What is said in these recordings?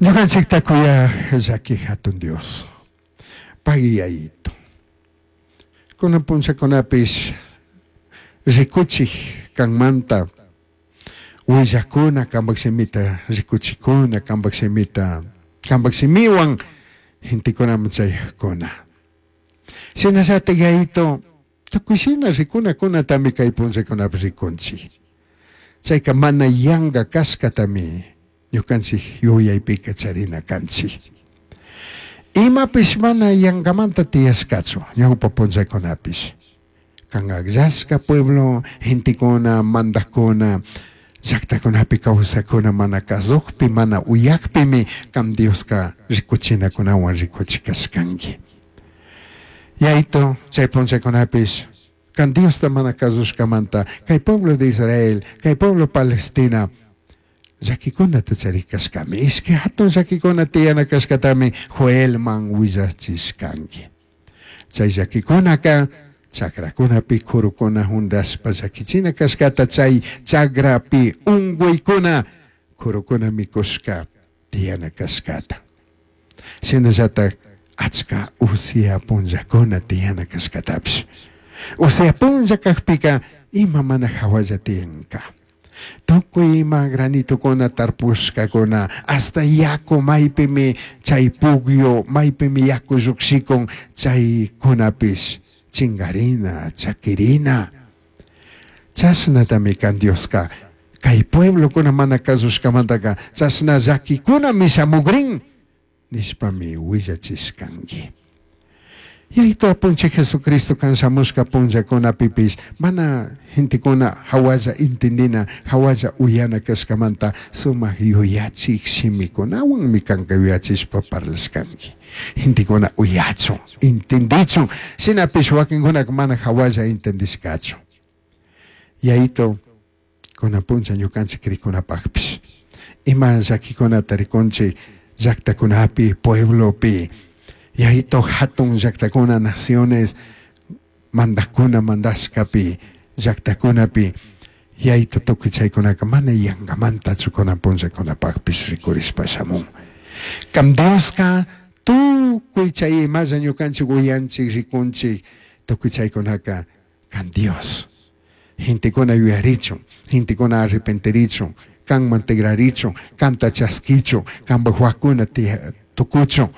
Ñukanchikta kuyaj llaki hatun Dios. Pagui Yayito. Kunan punllakunapish rikuchij kanmanta willajkuna kanpak shimita rikuchikuna kanpak shimita kanpak shimiwan gentekunaman chayajkuna. Shinallatik Yayito tukuy shina rikunakunatami kay punllakunapi rikunchik. Chayka mana yanka kashkatami ñukanchik yuyaypika charina kanchik. Imapish mana yankamanta tiyashkachu ñawpa punllakunapish. Kan akllashka pueblo gentekuna mandajkuna llaktakunapi kawsakuna mana kazukpi mana uyakpimi kan Dioska rikuchinakunawan rikuchikashkanki. Yayito chay punllakunapish kan Diosta mana kazushkamanta kay pueblo de Israel, kay pueblo Palestina llakikunata charikashkami. Ishki hatun llakikuna tiyana kashkatami Joelman willachishkanki. Chay llakikunaka chakrakunapi kurukuna hundashpa llakichina kashkata chay chakrapi unguykuna kurukuna mikushka tiyana kashkata. Shinallatak achka usia punllakuna tiyana kashkatapish. Usia punlla kakpika ima mana hawalla tiyanka. Tukuy ima granitokuna tarpushkakuna hasta yaku maypimi chay pugyo maypimi yaku llukshikun chaykunapish chinkarina chakirina. Chashnatami kan Dioska kay pueblokuna mana kasushkamantaka chashna llakikunami shamukrin nishpami willachishkanki. Yayito apunchik Jesucristo kan shamushka punllakunapipish mana gentekuna hawalla intindina hawalla uyana kashkamanta sumak yuyachik shimikunawanmi kanka yuyachishpa parlashkanki. Gentekuna uyachun, intindichun, shinapish wakinkunaka mana hawalla intindishkachu. Yayito kunan punlla ñukanchik krikunapakpish ima llakikunata rikunchik llaktakunapi, pueblopi, Yayito hatun llaktakuna naciones mandajkuna mandashkapi llaktakunapi Yayito tukuy chaykunaka mana yankamantachu kunan punllakunapakpish rikurishpa shamun. Kam Dioska tukuy chay imalla ñukanchik uyanchik rikunchik tukuy chaykunaka kan Dios. Gentekuna yuyarichun, gentekuna arrepentirichun, kanman tigrarichun, kanta chaskichun, kanpak wakuna tukuchun,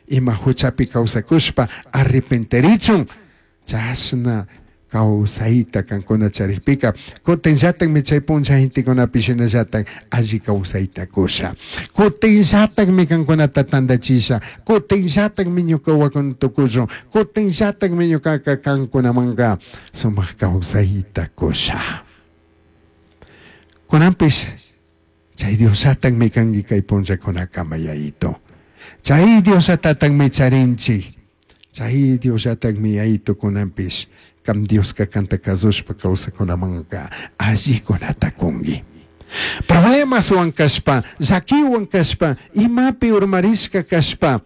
ima huchapi kawsakushpa arrepentirichun, chashna kawsayta kankuna charikpika kutinllatakmi chay punlla gentekunapi shinallatak alli kawsayta kusha. Kutinllatakmi kankunata tantachisha, kutinllatakmi ñuka wakuna tukuchun, kutinllatakmi ñukaka kankunamanka sumak kawsayta kusha. Kunanpish chay Diosllatakmi kanki kay punllakunakama Yayito. Chay Diosllatataqmi charinchik. Chay Diosllatakmi Yayito kunanpish kam Dioska kanta kasushpa kawsakunamanka allikunata kunki. Problemaswan kashpa, llakiwan kashpa, imapi urmarishka kashpa,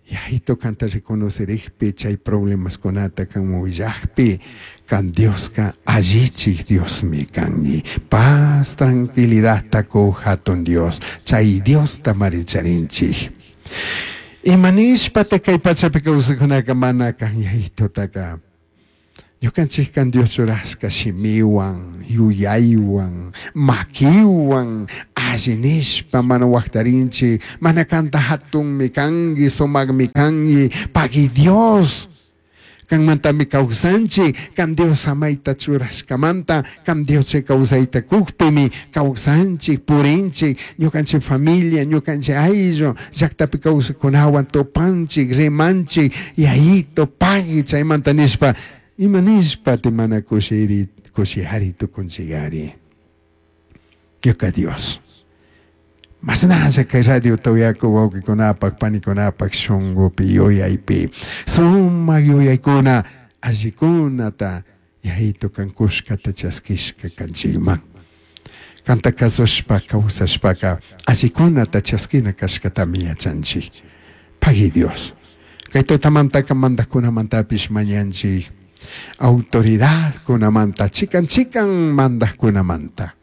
Yayito kanta reconocerikpi chay problemaskunata kan willakpi kan Dioska allichik Diosmi kanki. Paz, tranquilidadta kuj hatun Dios, chay Diosta maricharinchik. Ima nishpata kay pachapi kawsakunaka mana kan Yayitotaka ñukanchik kan Dios churashka shimiwan, yuyaywan, makiwan, alli nishpa mana waktarinchik, mana kanta hatunmi kanki, sumakmi kanki, pagui Dios. Kanmantami kawsanchik, kan Dios samayta churashkamanta, kan Dios chay kawsayta kukpimi kawsanchik, purinchik, ñukanchik familia, ñukanchik ayllu, llaktapi kawsakunawan tupanchik, rimanchik, Yayito pagui chaymanta nishpa, ima nishpa ti mana kushiri, kushihari tukunchikari. Ñuka Dios. Mashnalla kay radiota uyaku wawqikunapak, panikunapak shunkupi, yuyaypi, sumak yuyaykuna allikunata Yayito kan kushkata chaskishka kanchikman. Kanta kasushpa kawsashpaka allikunata chaskina kashkatami yachanchik. Pagui Dios. Kay tutamantaka mandajkunamantapish mañanchik autoridadkunamanta, chikan chikan mandajkunamanta,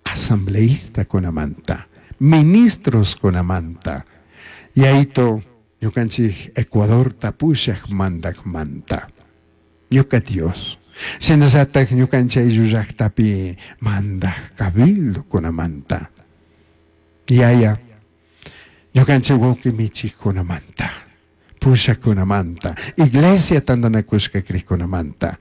asambleistakunamanta, Ministroskunamanta, Yaito ñukanchik Ecuadorta pushak mandakmanta. Ñuka Dios. Shinallatak ñukanchik ayllu llaktapi mandak cabildokunamanta. Yaya, ñukanchik wawqi michikkunamanta, pushakunamanta, iglesia tantanakushka krikkunamanta.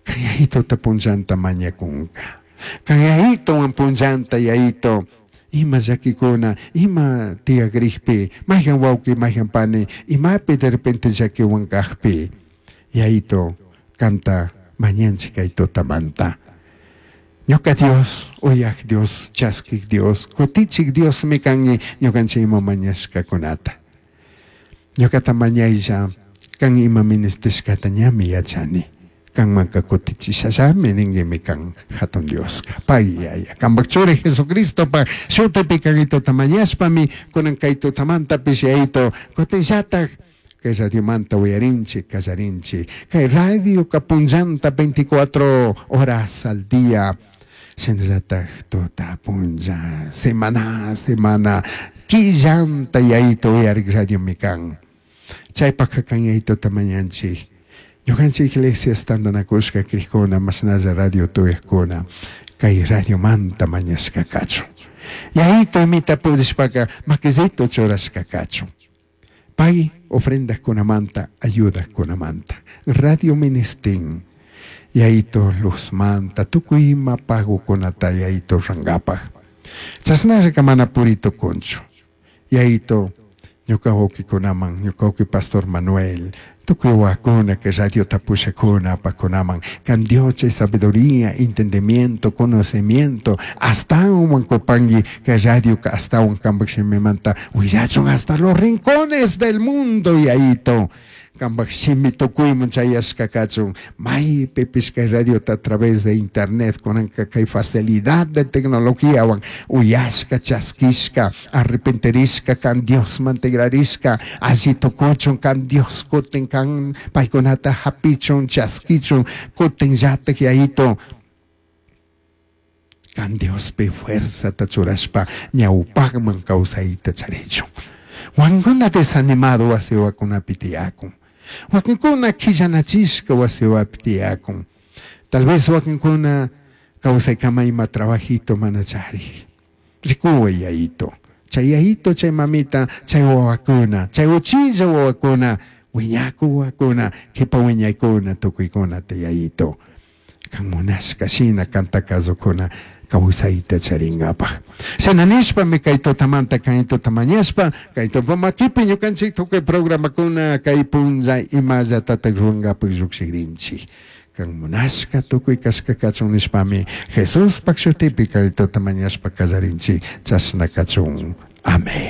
Kan Yayitota punllanta mañakunka. Kan Yayitowan punllanta Yayito ima llakikuna, ima tiyakrikpi, mayhan wawqi, mayhan pani, imapi de repente llakiwan kakpi, Yayito kanta mañanchik kay tutamanta. Ñuka Dios, uyak Dios, chaskik Dios, kutichik Diosmi kanki ñukanchik ima mañashkakunata. Ñukata mañaylla kan ima ministishkata ñami yachani. Kanmanka kutichishallami ninguimi kan hatun Dioska. Pay Yaya. Kanpak churi Jesucristopak shutipi kan tuta mañashpami kunan kay tutamantapish Yayito kutinllatak kay radiomanta uyarinchik kallarinchik. Kay radioka punllanta 24 horas al día. Shinallatak tuta punlla, semana semana, quillanta Yayito uyarik radiomi kan. Chaypaka kan Yayitota mañanchik. Ñukanchik iglesias tantanakushka krikuna, mashnalla radio tuyakuna, kay radiomanta mañashka kachun. Yayito imita pudishpaka makisito churashka kachun. Pay ofrendakunamanta, ayudakunamanta. Radio ministin, Yayito luzmanta, tukuy ima pagokunata Yayito rurankapak. Chashnallaka mana puri tukunchu. Yayito ñuka wawkikunaman, ñuka wawki Pastor Manuel, tukuy wawakuna kay radiota pushakuna apakunaman, kan Dios chay sabiduría, entendimiento, conocimiento, astawan kupanki kay radioka astawan kanpak shimimanta willachun hasta los rincones del mundo, Yayito. Kanpak shimi tukuyman chayashka kachun, maypipish kay radiota a través de internet kunanka kay facilidad de tecnologiawan uyashka, chaskishka, arrepentirishka, kan Diosman tigrarishka, alli tukuchun, kan Dios kutin kan paykunata hapichun, chaskichun, kutin llatak Yayito. Kan Diospi fuerzata churashpa ñawpakman kawsayta charichun. Wankuna desanimado wasiwakunapi tiyakun. Wakinkuna quillanachishka wasiwapi tiyakun. Tal vez wakinkuna kawsaykama ima trabajito mana charik. Rikuway Yayito. Chay Yayito, chay mamita, chay wawakuna, chay uchilla wawakuna, wiñaku wawakuna, kipa wiñaykuna, tukuykuna te Yayito. Kan munashka shina kanta kasukuna kawsayta charinkapak. Shina nishpami kay tutamanta kay tuta mañashpa, kay tupa makipi ñukanchik tukuy programakuna kay punlla imallatatak rurankapak llukshikrinchik. Kan munashka tukuy kashka kachun nishpami Jesuspak shutipi kay tuta mañashpa kallarinchik, chashna kachun. Amén.